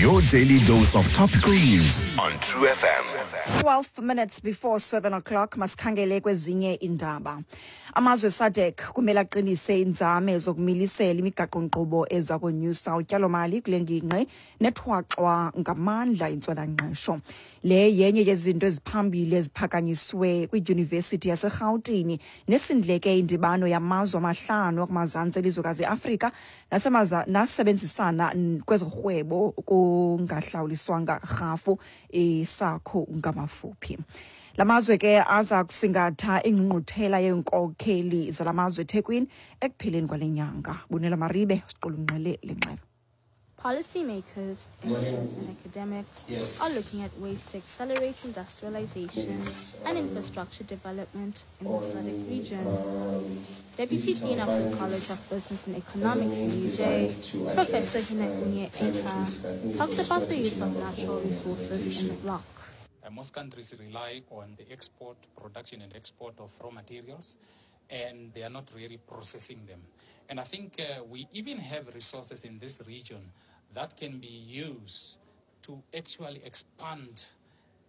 Your daily dose of topical news on True FM. 12 minutes before 7 o'clock, masikhangele kwezinye indaba. Amazwe SADC kumele aqinise inzame zokumilisela imigaqo-nkqubo eza konyusa utyalomali kule ngingqi nethwaxwa ngamandla intswelangqesho. Le yenye yezinto eziphambili eziphakanyiswe kwiDyunivesithi yaseRhawutini nesindleke indibano yamazwe amahlanu akumazantsi elizwekazi iAfrika nasebenzisana kwezorhwebo kungahlawuliswanga rhafu, iSACU ngamafuphi. La mazwe ke aza kusingatha ingqungquthela yeenkokheli zala mazwe eThekwini ekupheleni kwale nyanga. Bunela Maribe siqulunqele le ngxelo. Policymakers, experts and academics are looking at ways to accelerate industrialization and infrastructure development in the SADC region. Deputy Dean of the College of Business and Economics in UJ, Professor Hinakunye Eta, talked about the use of natural resources in the bloc. Most countries rely on the export, production and export of raw materials, and they are not really processing them. And I think we even have resources in this region that can be used to actually expand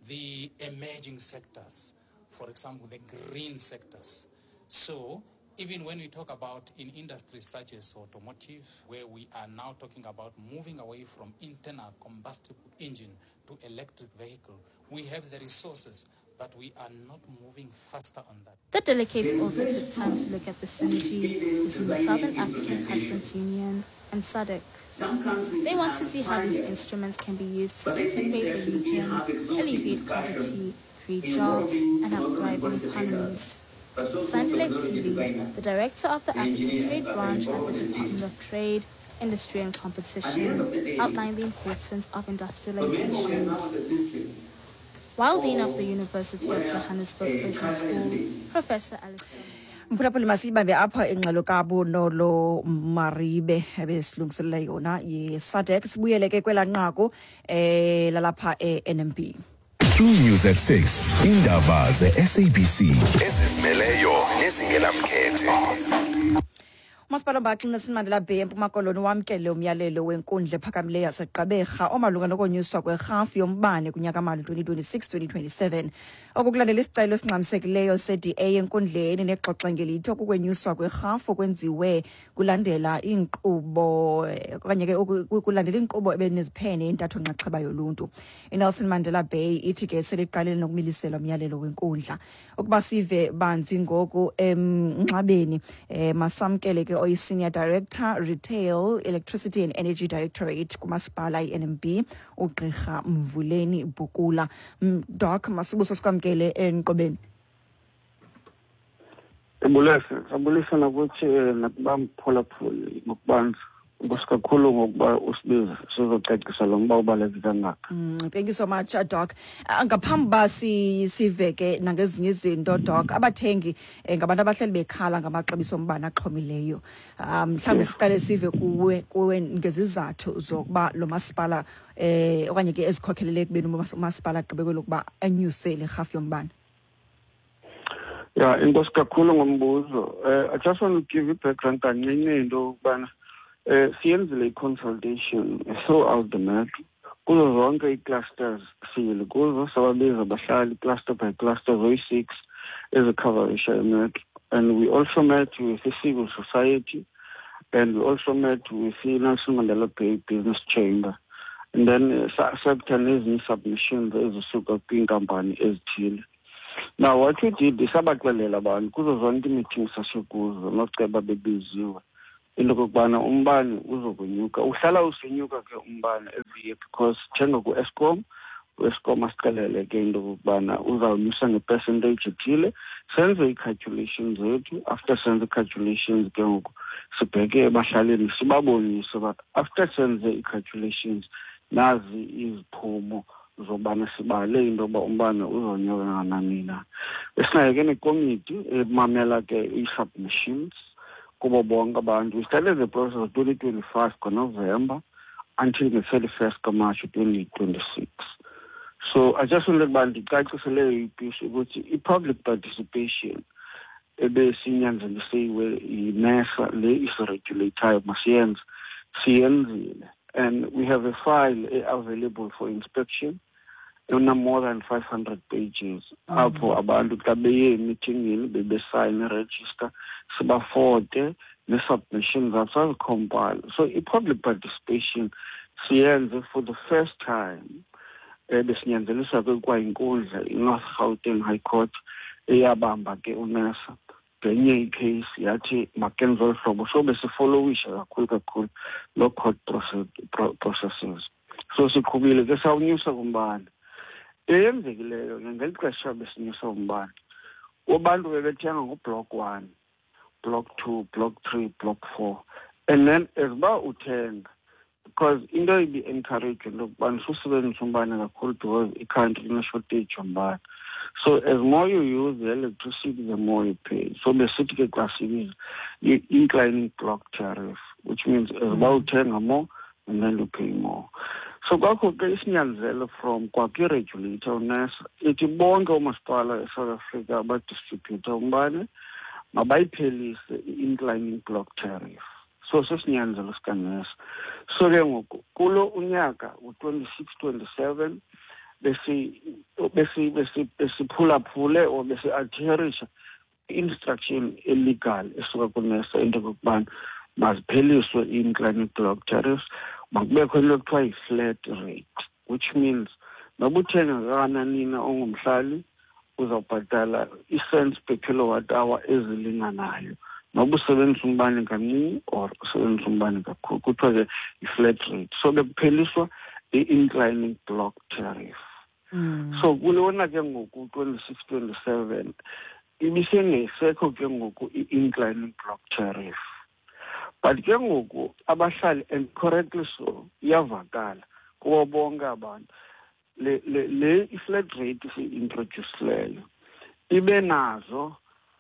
the emerging sectors, for example, the green sectors. So even when we talk about in industries such as automotive, where we are now talking about moving away from internal combustible engine to electric vehicle, we have the resources, but we are not moving faster on that. The delegates also took time to look at the synergy between the Southern African Customs Union and SADC. They want to see how these instruments can be used to integrate the region, alleviate poverty, create jobs, and have thriving economies. Sandile Tili, the director of the African Trade Branch at the Department of Trade, Industry and Competition, outlined the importance of industrialization. While Dean of the University of Johannesburg Business School, Professor Alistair Mphulaphuli, masiyibambe apha ingxelo kaBunolo Maribe ebesilungiselela yona ye-SADC. Sibuyele ke kwelaa nqaku lalapha e-NMB. True News at 6. Indaba ze-SABC ezizimeleyo nezingenamkhethe. Umasipala ombaxa iNelson Mandela Bay eMpuma Koloni wamkele umyalelo wenkundla ephakamileyo yaseGqeberha omalunga nokonyuswa kwerhafu yombane kunyaka-mali 2026-2027. Oku kulandela isicelo esingxamisekileyo se-DA enkundleni nexoxa ngelithi okukwenyuswa kwerhafu kwenziwe kulandela iinkqubo okanye ke kulandela inkqubo ebeneziphene intatho nxaxheba yoluntu. INelson Mandela Bay ithi ke seliqalile nokumilisela umyalelo wenkundla. Ukuba sive banzi ngoku emnxabeni, masamkele ke oyi-Senior Director, Retail, Electricity and Energy Directorate kumasipala i-NMB, uGqirha Mvuleni Bukula. Doc, masibuso sikwamkele enqobeni. Ndibulise, sabulisa nakuthi nakubamphulaphuli ngokubanzi. Enkosi kakhulu ngokuba usibize sizocacisa lo mba ubaluleke kangaka. Thank you so much, Doc. Ngaphambi uba sive ke nangezinye izinto, Doc, abathengi ngabantu abahleli bekhala ngamaxabiso ombane axhomileyo. Mhlawumbi siqale sive kuwe ngezizathu zokuba lo masipala okanye ke ezikhokhelele ekubeni umasipala agqibe kwelokuba anyuse le rhafu yombane. Ya, enkosi kakhulu ngombuzo. I just want to give you background kancinci into yokubana siyenzile i-consultation throughout the metro. Kuzo zonke ii-clusters siyile kuzo, sababiza abahlali cluster by cluster zoyi-6 ezikhavarisha imetro. And we also met with the civil society, and we also met with the Nelson Mandela Bay Business Chamber. And then sa-accepta nezinye submissions ezisuka kwiinkampani ezithile. Now what we did is sabaxelela abantu kuzo zonke ii-meetings sasikuzo noceba bebiziwe into okokubana umbane uzokonyuka. Uhlala usenyuka ke umbane every year because njengoku-Eskom, u-Eskom asixelele ke into okokubana uzawunyusa nge-percentage ethile. Senze ii-calculations zethu. After senze ii-calculations ke ngoku sibheke ebahlalini sibabonise uba after senze ii-calculations nazi iziphumo zobana sibale into yoba umbane uzonyuka kangakanani na. Besinayo ke nekomiti emamela ke ii-submissions kubo bonke abantu. We started the process of 2025 ngoNovember until the 31st kaMarch 2026. So I just wanted uba ndicacisele ipiece ukuthi i-public participation ebesinyanzelisiwe yiNERSA le isiregulatayo masiyenze, siyenzile. And we have a file available for inspection ena more than 500 pages, apho abantu xa beye emithingini bebesayine register, sibafote ne-submissions zabo sazi-compile. So i-public participation siyenze for the first time. Besinyanzelisa ke kwayinkundla i-North Gauteng High Court eyabamba ke uNERSA ngenye i-case, yathi makenze olu hlobo. So besifollowisha kakhulu kakhulu loo court processes. So siqhubile ke, sawunyusa kumbane. Eyenzekileyo ke ngeli xesha besinyusa umbane, abantu bebethenga ngu-block 1, block 2, block 3, block 4, and then as uba uthenga, because into ibi-encourage into yokubana susebenzisa umbane kakhulu because i-country ine-shortage yombane. So as more you use the electricity, the more you pay. So besithi ke xa sibiza i-inclining block tariff, which means as uba uthenga more and then you pay more. So kwakho ke isinyanzelo from kwakwi-regulator uNERSA ithi bonke oomasipala eSouth Africa abadistribhutha umbane mabayiphelise i-inclining block tariff. So sesinyanzelo sikaNERSA. So ke ngoku kulo unyaka u-26 27 besiphulaphule or besi-adherisha instruction e-legal esuka kuNERSA into yokokubana mazipheliswe i-inclining block tariffs, makubekho into ekuthiwa yi-flat rate, which means noba uthenga kangakanani na ongumhlali, uzawubhatala ii-cents per kilowatt hour ezilinganayo noba usebenzisa umbane kancinci or usebenzisa umbane kakhulu. Kuthiwa ke yi-flat rate. So bekupheliswa i-inclining block tariff. So kulona ke ngoku 26 27 ibisengesekho ke ngoku i-inclining block tariff, but ke ngoku abahlali, and correctly so, iyavakala kubo bonke abantu, le i-flat rate siyi-introducileyo ibe nazo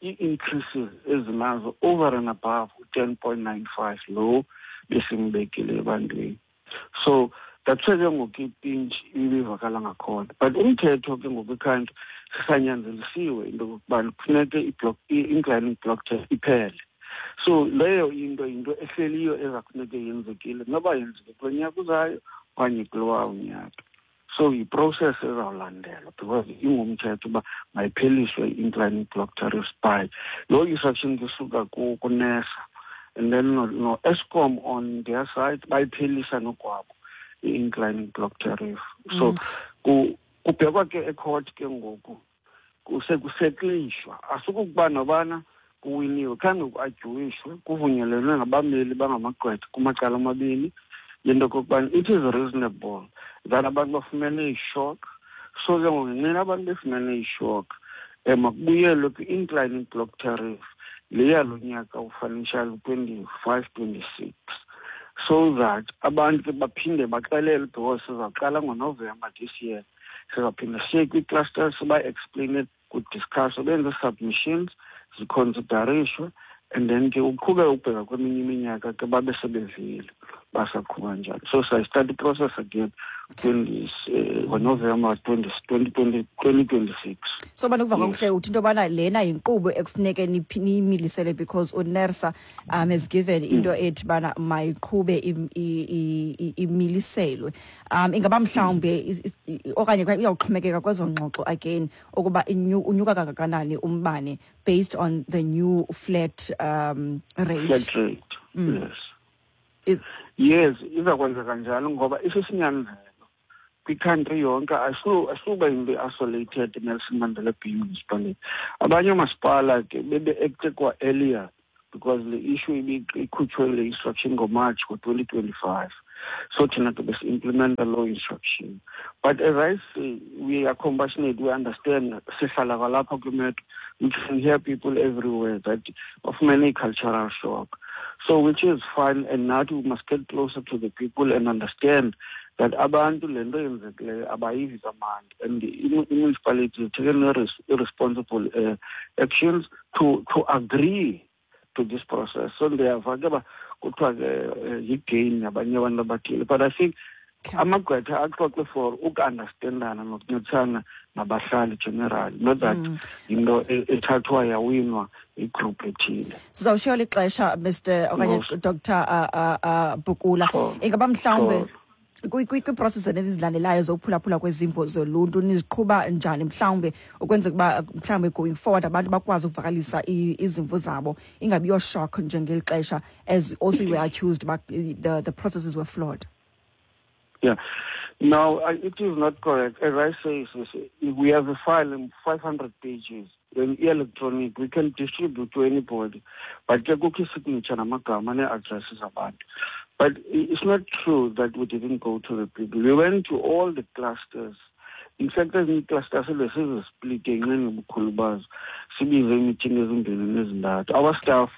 ii-increases ezinazo over and above u-10.95 lo besimbekile ebantwini. So that's why ke ngoku i-pinch ibivakala ngakhona, but umthetho ke ngoku i-country sisanyanzelisiwe into yokokubana kufuneke i-inclining block tariff iphele. So leyo into ehleliyo eza kufuneke yenzekile, noba yenzeke kulo nyaka uzayo okanye kulowa unyaka. So yi-process ezawulandelwa because ingumthetho uba mayipheliswe i-inclining block tariffs by loo instruction kusuka kuNERSA, and then no-Eskom on their side bayiphelisa nokwabo i-inclining block tariff. So kubhekwa ke e-court ke ngoku, kusekusetlishwa, asukukuba nobana kuwiniwe, khange ku-arguishwe, kuvunyelelwe ngabameli bangamagqwetha kumacala amabini yento okokubana it is reasonable that abantu bafumene i-shock. So ke ngoku ngenxa abantu befumene i-shock, makubuyelwe kwi-inclining block tariff leya lo nyaka u-financial 25 26, so that abantu ke baphinde baxelelwe, because sizawuqala ngoNovember this year, sizawuphinda siye kwii-clusters, siba-explaine, kudiscusswe, benze submissions, ziconsiderishwe, and then ke uqhube ubheka kweminye iminyaka ke babe sebevile basaqhuba njalo. So sayi-start i-process again ngoNovember 2026. So banokuva kakuhle uthi into yobana lena yinkqubo ekufuneke niyimilisele because uNERSA has given into ethi bana mayiqhube imiliselwe. Ingaba mhlawumbe okanye iyawuxhomekeka kwezo ngxoxo again ukuba unyuka kangakanani umbane based on the new flat rate. Flat rate. Yes. Yes, iza kwenzeka njalo ngoba isisinyanzelo kwi-country yonke, asuba into isolated Nelson Mandela Bay Municipality. Abanye oomasipala ke bebe-acte kwa earlier because the issue ikhutshwe le instruction ngoMarch ngo-2025. So thina ke besi-implementa loo instruction. But as I say, we are compassionate, we understand, sihlala kwalapha kwimetro, we can hear people everywhere that bafumene i-cultural shock. So which is fine, and now we must get closer to the people and understand that abantu le nto yenzekileyo abayivi kamandi, and the municipality taken irresponsible actions to agree to this process. So ndiyava ke uba kuthiwa ke yi-gain yabanye abantu abathile, but I think Amagqwetha axoxe for uku-understandana nokuncedisana nabahlali generally, not that into ethathwa yawinwa igroup ethile. Sizawushiya lixesha, Mr okanye Dr Bukula. Ingaba mhlawumbe kwiiprocess ezilandelayo zokuphulaphula kwezimvo zoluntu niziqhuba njani, mhlawumbe ukwenzeka uba mhlawumbe going forward abantu bakwazi ukuvakalisa izimvo zabo, ingabi yo-shock njengeli xesha, as also you were accused uba the processes were flawed? Yeah. No, it is not correct. As I say, we have a file in 500 pages. Then electronic, we can distribute to anybody. But ke kukho signature namagama nee-addresses abantu. But it's not true that we didn't go to the people. We went to all the clusters. In fact, ezinye ii-clusters besizi-splite ngenxa yobukhulu bazo, sibize iimithingi ezimbini nezintathu. Our staff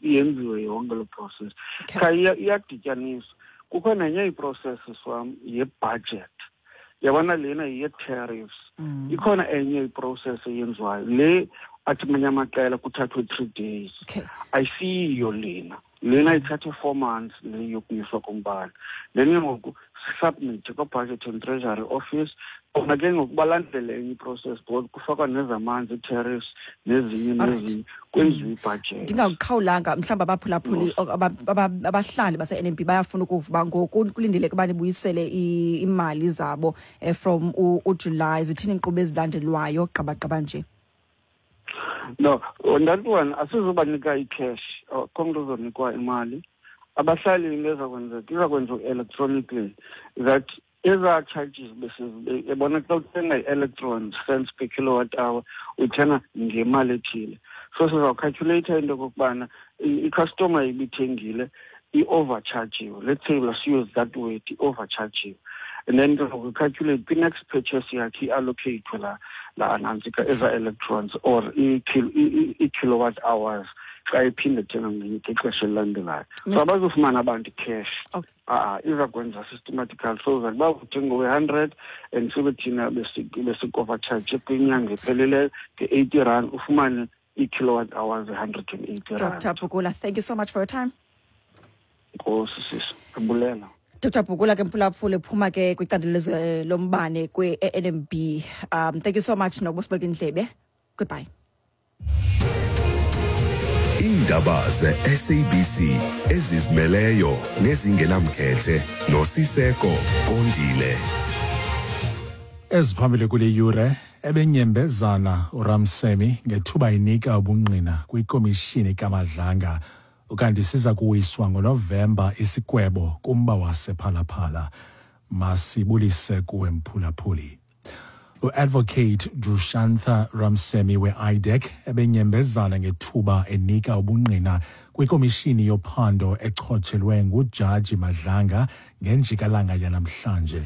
yenziwe yonke loo process. Cha, iyadityaniswa. Kukho nenye iprocess wam ye-budget. Yabona, lena ye-tariffs. Ikhona enye iprocess eyenziwayo le athi amanye amaqela kuthathwe 3 days. Ayisiyiyo lena. Lena ithathe 4 months, le yokunyuswa kombane. Then ke ngoku sisubmit kwa-Budget and Treasury Office. Kona ke ngoku balandele enye iprocess because kufakwa nezamanzi, ii-tariffs, nezinye nezinye, kwenziwe ibudget. Ndingakuqhawulanga, mhlawumbi abaphulaphuli, abahlali base-NMB bayafuna ukuva uba ngoku kulindeleke uba nibuyisele iimali zabo from uJuly. Zithini iinkqubo ezilandelwayo gqabagqaba nje? No, on that one asizubanika i-cash. Akho mntu uzonikwa imali. Abahlali, into ezakwenzeka iza kwenziwa electronically, that ezaa charges yabona, xa uthenga i-electron cents per kilowatt hour, uyithenga ngemali ethile. So sizawucalculata into okokubana icustomer ibithengile i-overchargiwe, let's say, let's use that word, i-overchargiwe, and then ke ngoku calculate kwi-next purchase yakhe i-allocate la nantsika eza electrons or ii-kilowatt hours xa iphinde thenga ngexesha elilandelayo. So abazofumana abantu cash. A-a, iza kwenza systematical so that uba uthenga we-100 and sibe thina besik-overcharge kwinyanga epheleleyo nge-R80, ufumane ii-kilowatt hours e-R180. Dr Bukula, thank you so much for your time. Nkosi sisi, abulela. Dr Bukula ke, mphulaphuli, ephuma ke kwicandelo lombane kwe-NMB. Thank you so much nokuba indlebe. Goodbye. Iindaba ze-SABC ezizimeleyo nezingenamkhethe noSiseko Kondile. Eziphambili kule yure: ebenyembezana uRamsemi ngethuba inika ubungqina kwikomishini kaMadlanga. Ukanti siza kuwiswa ngoNovemba isigwebo kumba wasePhalaphala. Masibulise kuwe, mphulaphuli. U-Advocate Drushantha Ramsemi we-IDAC ebenyembezana ngethuba enika ubungqina kwikomishini yophando echotshelwe nguJaji Madlanga ngenjikalanga yanamhlanje.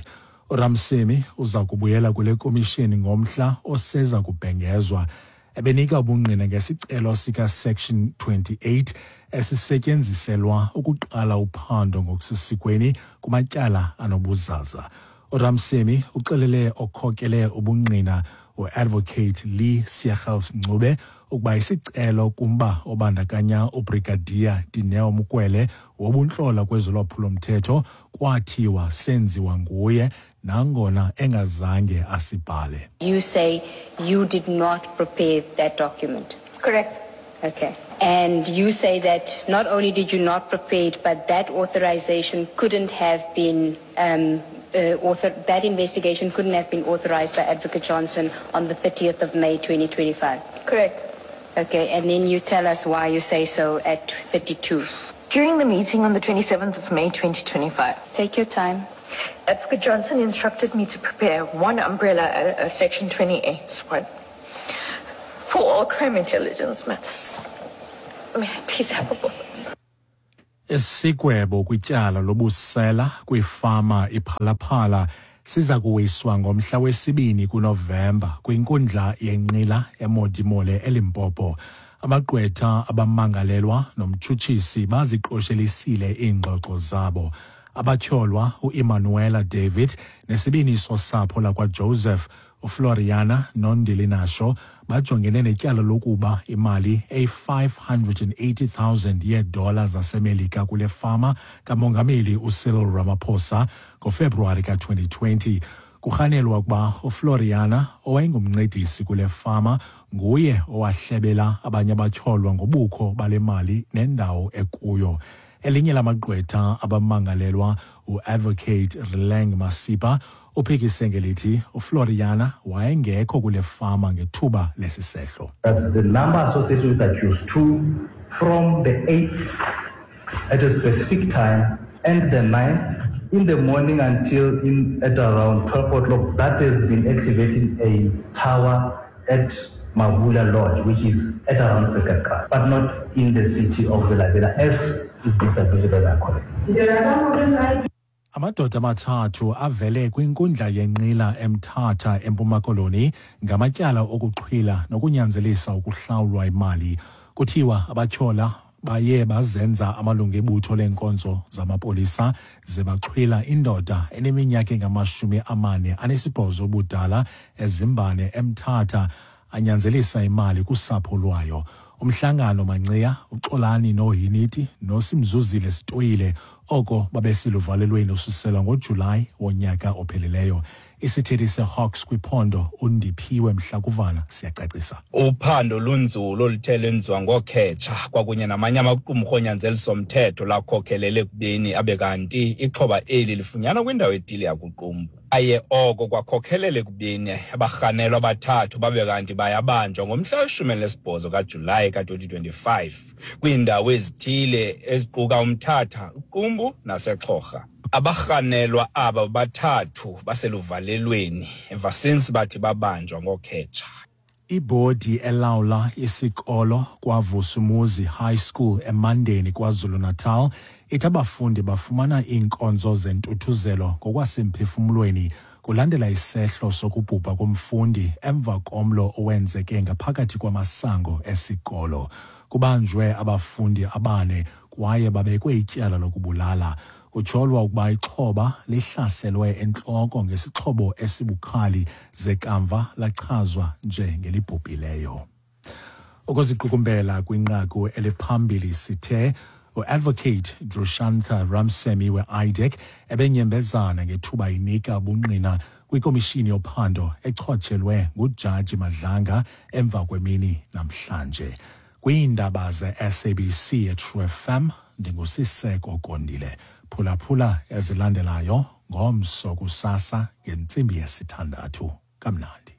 URamsemi uza kubuyela kule komishini ngomhla oseza kubhengezwa. Ebenika ubungqina ngesicelo sika-Section 28 esisetyenziselwa ukuqala uphando ngokusesikweni kumatyala anobuzaza. URamsemi uxelele okhokele ubungqina, uAdvocate Lee Seegels Ncube, ukuba isicelo kumba obandakanya uBrigadier Dineo Mokwele wobuntlola kwezolwaphulo-mthetho kwathiwa senziwa nguye, nangona engazange asibhale. You say you did not prepare that document. Correct. Okay. And you say that not only did you not prepare it, but that authorization couldn't have been, that investigation couldn't have been authorized by Advocate Johnson on the 30th of May 2025. Correct. Okay, and then you tell us why you say so at 32. During the meeting on the 27th of May 2025, Take your time. Advocate Johnson instructed me to prepare one umbrella, Section 28 one, for all crime intelligence matters. May I please have a moment? Isigwebo kwityala lobusela kwifama iPhalaphala siza kuwiswa ngomhla wesibini kuNovemba kwinkundla yenqila eModimolle eLimpopo. Amagqwetha abamangalelwa nomtshutshisi baziqoshelisile iingxoxo zabo. Abatyholwa uEmanuela David nesibini sosapho lakwaJoseph, UFloriana noNdilinasho bajongene netyala lokuba imali eyi-580,000 yeedola zaseMelika kule fama kaMongameli uCyril Ramaphosa ngoFebruwari ka-2020. Kurhanelwa ukuba uFloriana, owayengumncedisi kule fama, nguye owahlebela abanye abatyholwa ngobukho bale mali nendawo ekuyo. Elinye lamagqwetha abamangalelwa, uAdvocate Rileng Masipa, uphikise ngelithi uFloriana wayengekho kule fama ngethuba lesisehlo. That the number associated with accused 2 from the 8th at a specific time and the 9th in the morning until at around 12 o'clock, that has been activating a tower at Mabula Lodge, which is at around Pekaka, but not in the city of Bela-Bela, as is being submitted by my colleague. Amadoda amathathu avele kwinkundla yenqila eMthatha eMpuma Koloni ngamatyala okuxhwila nokunyanzelisa ukuhlawulwa imali. Kuthiwa abatyhola baye bazenza amalungu ebutho leenkonzo zamapolisa ze baxhwila indoda eneminyaka engama-48 ubudala eZimbane eMthatha, anyanzelisa imali kusapho lwayo. Umhlangano Manciya, uXolani Nohiniti noSimzuzile Sitoyile oko babeseluvalelweni ususela ngoJulayi wonyaka ophelileyo. Isithethi seHawks kwiphondo uNdiphiwe Mhlakuvana siyacacisa. Uphando lunzulu oluthe lwenziwa ngookhetsha kwakunye namanye amaqumrhu onyanzelisomthetho lakhokhelele ekubeni abe kanti ixhoba eli lifunyanwa kwindawo etile yakuQumbu. Aye oko kwakhokhelela ekubeni abarhanelwa abathathu babe kanti bayabanjwa ngomhla we-18 kaJulayi ka-2025 kwiindawo ezithile eziquka uMthatha, uQumbu naseXhorha. Abarhanelwa aba bathathu baseluvalelweni emva since bathi babanjwa ngookhetsha. Ibhodi elawula isikolo kwaVusumuzi High School eMandeni KwaZulu-Natal ithi abafundi bafumana iinkonzo zentuthuzelo ngokwasemphefumlweni kulandela isehlo sokubhubha komfundi emva komlo owenzeke ngaphakathi kwamasango esikolo. Kubanjwe abafundi abane kwaye babekwe ityala lokubulala. Kutyholwa ukuba ixhoba lihlaselwe entloko ngesixhobo esibukhali ze kamva lachazwa njengelibhubhileyo. Ukuziqukumbela kwinqaku eliphambili sithe uAdvocate Drushantha Ramsemi we-IDAC ebenyembezana ngethuba inika ubungqina kwikomishini yophando echotshelwe nguJaji Madlanga emva kwemini namhlanje. Kwiindaba ze-SABC eTrue FM, ndinguSiseko Kondile. Phulaphula ezilandelayo ngomso kusasa ngentsimbi yesithandathu. Kamnandi.